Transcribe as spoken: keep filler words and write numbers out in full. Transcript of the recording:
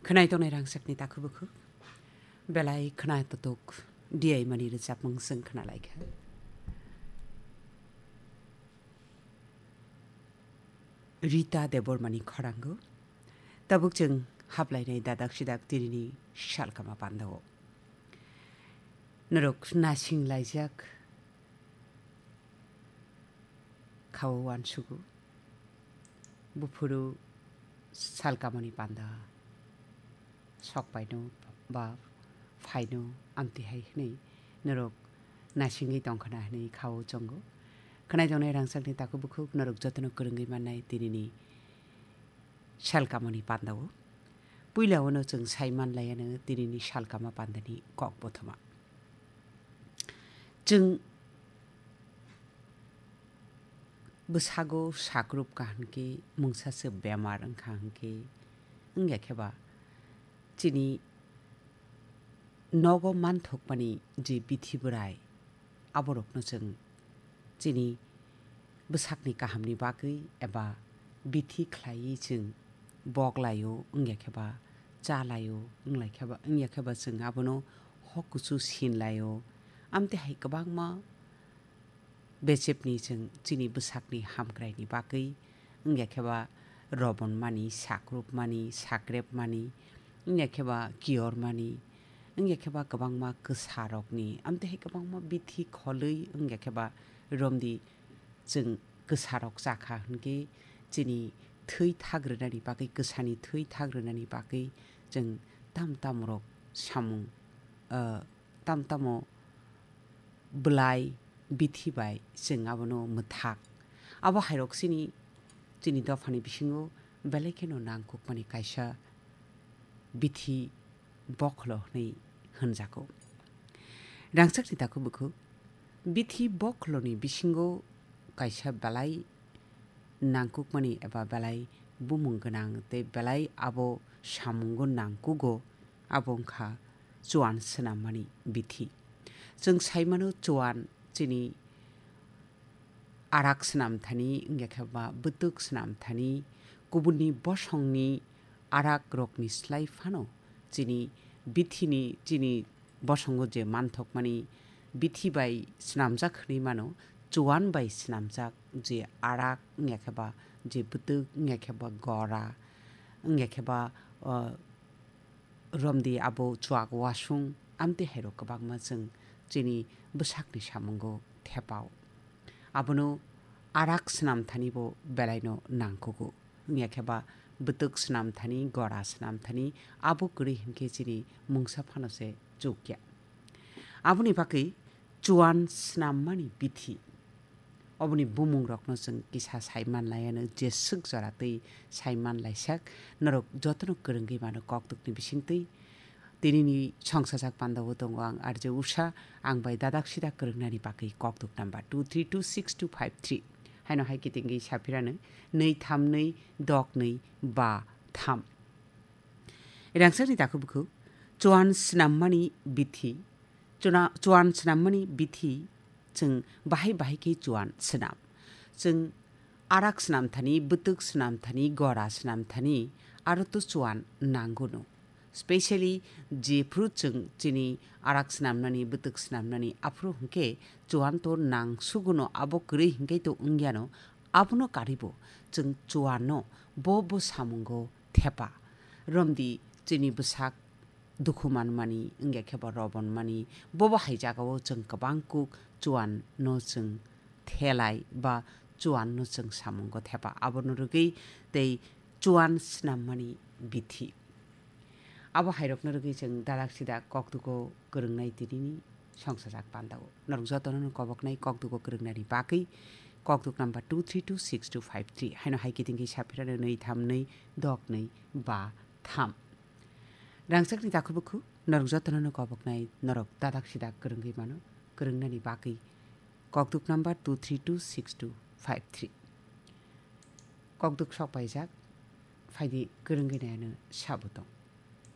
Khwnai tongnai rangchakni takhuk bukhuk. Belai khna tutuk D I mani rwchapmung chwng khna lai kha. Rita Debbarmani khorango. Tabuk chwng haplainai dadak sidak tinini salkama pandao. Norok nasing laijak. Khao uansugo. Buphuru salkamani panda sokpaino ba phaino amtwi hai hwnwi norok nasingwi tongkhana hwnwi khao chongo. Khwnai tongnai rangchakni takhuk bukhuk norok jotono kwrwngwi mannai tinini salkamani pandao. Puila uano chwng sai manlaiano tinini salkama pandani kok bothoma. Chwng bwsago sakrup ka hwnkhe mungsa se bemar wngkha hwnkhe, wngya kheba chini nogo manthokmani je bithi bwrai, aborokno chwng chini bwsakni kahamni bagwi eba bithi khlaiwi chwng bok laio, wngya kheba cha laio, wngya kheba chwng abono hok kuchu sin laio. Amtwi hai kwbangma bechepni chwng chini bwsakni hamkraini bagwi, wngya kheba robonmani, sakrupmani, sakrepmani, wngya kheba kiyormani, wngya kheba kwbangma kwsarokni, amtwi hai kwbangma bithi kholwi, wngya kheba romdi chwng kwsarok chakha hwnkhe chini thwi thak rwnani bagwi, kwsani thwi thak rwnani bagwi chwng tam tamrok samung, ah, tam tamo bwlai bithi bai chwng abono mwthak. Abo hairok chini, chini dophani bisingo belai kheno nangkukmani kaisa bithi bokholo hwnwi hwnjago. Rangchakni takhuk bukhuk, bithi bokholoni bisingo kaisa belai nangkukmani eba belai bumung gwnang tei belai abo samungo nangkugo, abo wngkha chuan swnammani bithi. Chwng sai mano, chuan chini arak swnam thani, wngya khe ba bwtwk swnam thani, kubunni bosongni arak rokni slai phano chini bithini, chini bosongo je manthokmani bithi bai swnamjak hwnwi mano, chuan bai swnamjak je arak, wngya khe ba je bwtwk, wngya khe ba gora, wngya khe ba, o, romdi abo chuak wasung, amtwi hairok kwbangma chwng chini bwsakni samungo thepao. Abono arak swnam thani bo belaino nangkugo. Wngya khe ba bwtwk swnam thani, gora swnam thani, abo kwrwi hinkhe chini mungsa phano se chukya. Aboni bagwi chuan swnammani bithi. Oboni bumungrokno chwng kisa sai manlaiano, jeswk jora twi sai manlaisak, norok jotono kwrwngwi mano kokdukni bisingtwi. Tinini songsajak pandao tongo ang R J Usha, ang bai dadak sidak kwrwngnani bagwi kokduk number two three two six two five three. Haino hai kitingwi saphirano nwi tham nwi dok nwi ba tham. Rangchakni takhuk bukhuk, chuan swnammani bithi. Chuna-, chuan swnammani bithi, chwng bahai bahai khe chuan swnam. Chwng arak swnam thani, bwtwk swnam thani, gora swnam thani, aro to chuan nango no. Specially jephru chwng chini arak swnamnani, bwtwk swnamnani, aphuru hinkhe chuan to nangsugo no, abo kwrwi hinkhe to wngya no, abono karwi bo chwng chuan no bo bo samungo thepa. Romdi chini bwsak dukhu manmani, wngya khe ba robon mani, bobo hai jagao chwng kwbang kuk chuan no chwng thelai ba chuan no chwng samungo thepa. Abono rwgwi tei chuan swnammani bithi. Abo hairokno rwgwi chwng dadak sidak kokdugo kwrwngnai tinini songsajak pandao. Norok jotono no koboknai kokdugo kwrwngnani bagwi kokduk number two three two six two five three. Haino hai kitingwi saphirano nwi tham nwi dok nwi ba tham. Rangchakni takhuk bukhuk, norok jotono no koboknai, norok dadak sidak kwrwngwi mano, kwrwngnani bagwi. Kokduk number two three two six two five three. Kokduk sok paijak, phaidi kwrwngwi naiano sabo tong.